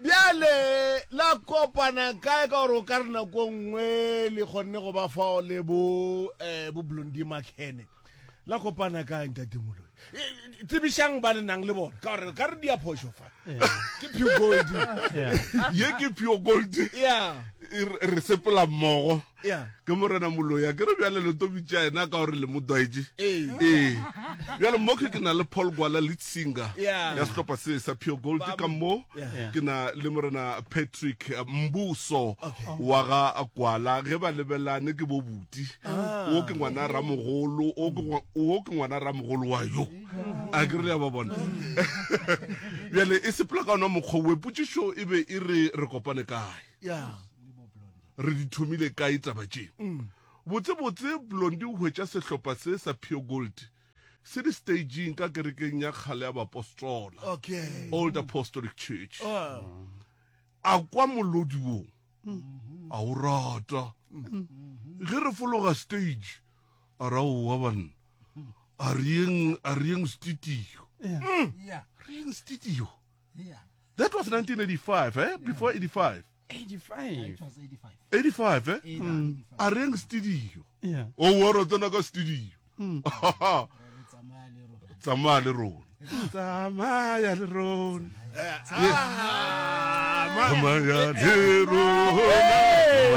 Bjale la kopana kae ka gore o ka re nako nngwe le kgonne go ba fao le bo eh, bo Blondie Makhene. La kopana kae ntate Moloi? E, e, Tsebišang ba le nang le bona ka gore ka re dia phošo fa. Ke pure gold. Ye ke pure gold. Yeah. E re re sepela mmogo. Yeah. Ke morena Moloi a ke re bjale le to bitša yena ka gore le mo dwaetše. Ee. Ee. Bjale mo ke ke na le Paul Gwala lead singer Yeah. ya sehlopha se sa Pure Gold Ba- ka mo Yeah. ke na le morena Patrick Mbuso wa ga Gwala ge ba lebelane ke bo buti. Ah. O ke ngwana ramogolo, o ke ngwa- o ke ngwana ramogolo wa yo. A ke re le ya ba bona. Bjale e sepela ka ona mokgwa we potšišo e be e re re kopane kae. Yeah. Re di thomile kae taba tše? Botsebotse Blondie o hwetša sehlopha se sa Pure Gold se le staging ka kerekeng ya kgale ya Baapostola, Okay. Old Apostolic Church. Oh. A kwa molodi wo, a o rata. Ge re fologa stage, a ra owa banna, a re yeng, a re yeng studio. Yeah. Re yeng studio. Yeah. That was 1985, eh? Before 85. 85. It was 85. 85, eh? Yeah, 85. A reng studio. Yeah. O wa re tsena ka studio. Re tsamaya le rona. Tsamaya le rona. Tsamaya le rona. Tsamaya le rona.